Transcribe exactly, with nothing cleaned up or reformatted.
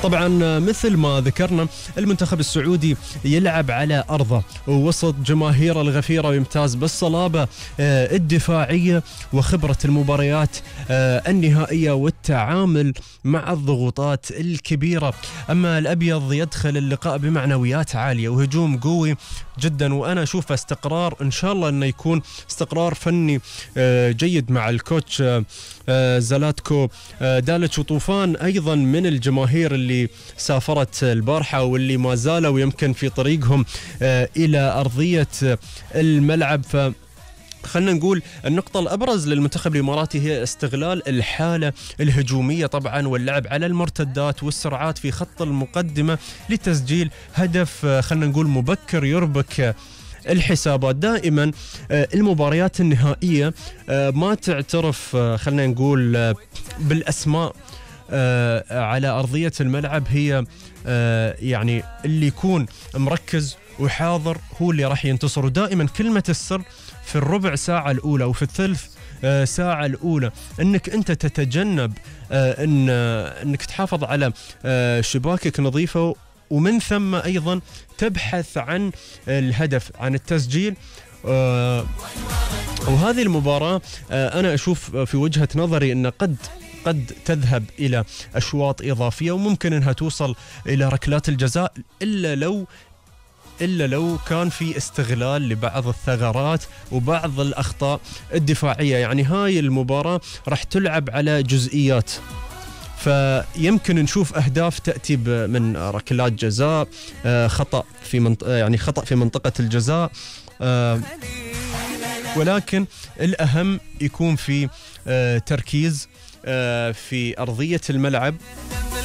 طبعا مثل ما ذكرنا المنتخب السعودي يلعب على أرضه ووسط جماهيره الغفيرة ويمتاز بالصلابة الدفاعية وخبرة المباريات النهائية والتعامل مع الضغوطات الكبيرة. أما الأبيض يدخل اللقاء بمعنويات عالية وهجوم قوي جدا، وأنا أشوف استقرار إن شاء الله أنه يكون استقرار فني جيد مع الكوتش زلاتكو داليتش، وطوفان أيضا من الجماهير اللي سافرت البارحة واللي ما زالوا يمكن في طريقهم إلى أرضية الملعب. ف خلنا نقول النقطة الأبرز للمنتخب الإماراتي هي استغلال الحالة الهجومية طبعا واللعب على المرتدات والسرعات في خط المقدمة لتسجيل هدف خلنا نقول مبكر يربك الحسابات. دائما المباريات النهائية ما تعترف خلنا نقول بالأسماء على أرضية الملعب، هي يعني اللي يكون مركز وحاضر هو اللي راح ينتصر. ودائما كلمة السر في الربع ساعة الأولى وفي الثلث ساعة الأولى أنك أنت تتجنب أن أنك تحافظ على شباكك نظيفة، ومن ثم أيضا تبحث عن الهدف عن التسجيل. وهذه المباراة أنا أشوف في وجهة نظري أن قد قد تذهب إلى أشواط إضافية وممكن أنها توصل إلى ركلات الجزاء، إلا لو إلا لو كان في استغلال لبعض الثغرات وبعض الأخطاء الدفاعية. يعني هاي المباراة راح تلعب على جزئيات، فيمكن نشوف أهداف تأتي من ركلات جزاء، خطأ في منطقة يعني خطأ في منطقة الجزاء، ولكن الأهم يكون في تركيز في أرضية الملعب